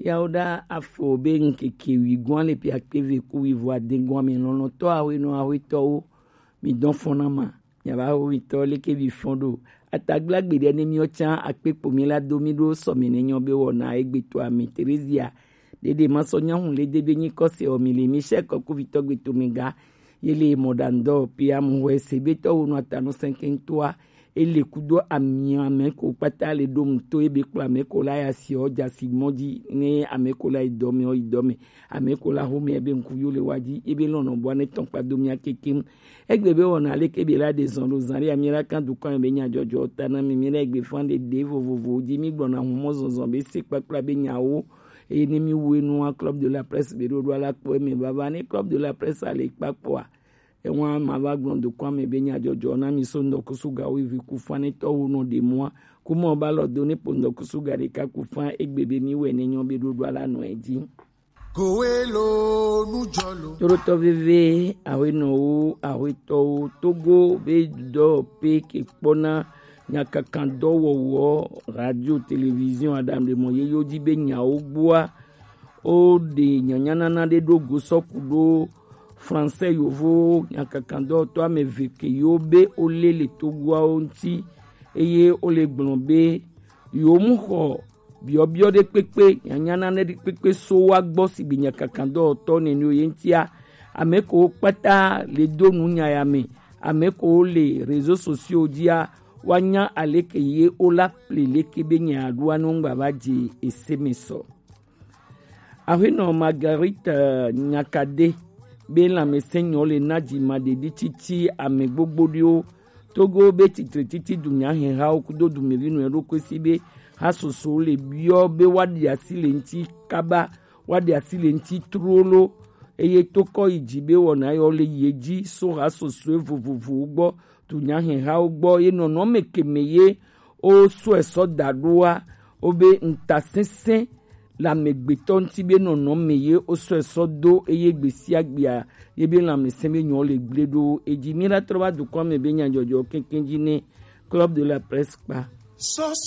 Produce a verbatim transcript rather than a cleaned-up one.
Yawo ɖa afo be ŋkeke wi gɔn le pia kpeve ku wi vɔ aden gɔn mi lɔlɔtɔ awe nɔ awe tɔwo mi dɔn fɔn na ma. Nyaba ho mi tɔ leke bi fɔn ɖo atagblagbe ɖe ne mi ɔtsan akpe kpo mi la do mi ɖo sɔ mi ne nyɔ be wɔna egbe to ami Terezia ɖeɖe ma sɔ nyahu le de be nyi kɔse ɔ mi le mi sɛ kɔku vi tɔ gbe to mi ga. Ye le mɔ ɖa ŋdɔ pia mu hɔ ese be tɔ wo nɔ atanu sɛnkɛntoa ele kudo amia mɛ ko kpata le ɖo mu to ebe kpla mɛ ko la ya si ɔ ja si mɔ ji ne ame ko la yi dɔ mɛ ɔ yi dɔ mɛ ame ko la ho mɛ ebe ŋku yo le wa ji ebe lɔnɔ bua ne tɔn kpa do mia kekem. Egbe be wɔna leke be la de zɔn ɖo zan ɖe amira kan dukɔ be nya jɔjɔ ta na mi mi la egbe fan de de vovovo ji mi gbɔna humɔ zɔnzɔn be se kpakpla be nyawo. Eye ne mi wu enua club de la presse be ɖo ɖo ala kpɔ eme baba ne club de la presse ale kpakpɔa. Ewa ma va gblɔ dukɔ ame be nya jɔjɔ na mi so ŋdɔkusu ga wo vi ku fan ne tɔ wo nɔ de mua. Kuma ba lɔ do ne po ŋdɔkusu ga ɖeka ku fan egbe be mi wɛ ne nyɔ be ɖo ɖo ala nɔ edzi. Torotɔ veve awenɔwo awetɔwo Togo be dɔ pe ke kpɔna nyakakan dɔwɔwɔ radio télévision aɖaŋuɖemɔ yeyewo ji be nyawo gbɔa. Wo ɖe nyanyanana ɖe ɖo go sɔ ku ɖo français yovo nyakakan dɔwɔtɔ ame eve ke yewo be wo lé le Togoawo ŋuti eye wo le gblɔ be yewo mu xɔ biɔbiɔ ɖe kpekpe nyanyana ɖe kpekpe so wa gbɔ sigbe nyakakan dɔwɔtɔ nɛnɛ ye ŋutia ame ko kpata le do nu nya ya me ame ko le réseaux sociaux dzia wa nya aleke ye wo la ple leke be nya ɖoa ne ŋgba va dze ese me sɔ. Aƒenɔ Marguerite Nyakade be lãmesẽ nyɔ le na dzimaɖeɖi titi ame gbogbo ɖewo. Togo be titre titi dunyahehawo kudo dumevi nɔ eɖokui si be hasoso le biɔ be woaɖe asi le ŋuti kaba, woaɖe asi le ŋuti trolo, eye tokɔ yi dzi be wɔna yɔ le ye dzi so hasosoe vovovowo gbɔ, dunyahehawo gbɔ, ye nɔnɔme keme ye wo sɔe sɔ da ɖoa, wo be ŋutasesẽ le amegbetɔ ŋuti be nɔnɔme ye wo sɔe sɔ do eye gbesiagbea ye be lãmesẽ be nyɔ le gble ɖo edzi. Mi la trɔ va dukɔ me be nyadzɔdzɔ keŋkeŋ dzi ne Club de la Presse kpa.